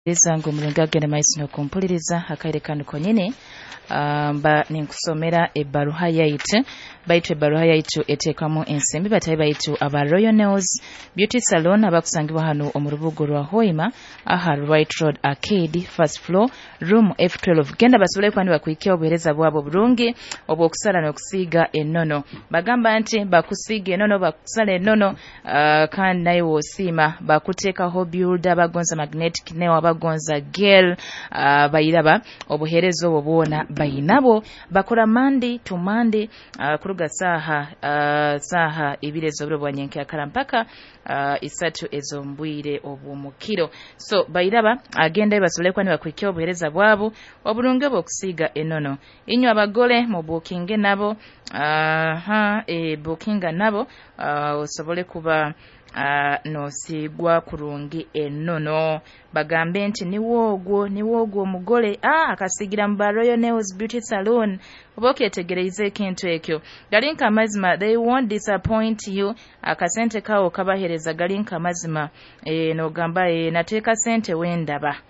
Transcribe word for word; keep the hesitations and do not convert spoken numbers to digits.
Zangu omurungi agenda maiso n'okumpuliriza akaire kanu konyini, ah, mba ninkusomera ebbaruha yaitu. Baitu ebbaruha yaitu eteekamu ensimbi batahi baitu aba Royal Nails Beauty Salon, abakusangibwa hanu omu rubuga rwa Hoima, aha Right Road Arcade, first floor, room F twelve. Genda basobole kuba nibakuhikya obuheereza bwabo oburungi obw'okusala n'okusiiga enono. Bagamba nti bakusiiga enono, bakusala enono, uh, kandi naye woosiima. Bakuteekaho builder, bagonza magnetic nail, abagonza gel, uh, bairaba obuheereza obwo bwona bayinabwo. Bakora Monday to Monday, uh, kuruga saaha uh, saaha ibiri ez'oburo bwa nyenkyakara mpaka uh, isatu ez'ombwire obw'omukiro. So bairaba agendayo basobole kuba nibakuhikya obuheereza bwabo oburungi obw'okusiiga enono. Inywe abagole mubuukinge nabo, aha, e, buukinga nabo, uh, osobole kuba uh, n'osiigwa kurungi enono, bagambe nti niwe ogwo, niwe ogwo omugole, ah, akasiigira mu ba Royal Nails Beauty Salon. Oba okyetegereize ekintu ekyo, gali nk'amazima, they won't disappoint you. Akasente kawo kabaheereza gali nk'amazima, e, n'ogamba, e, nateeka sente wendaba.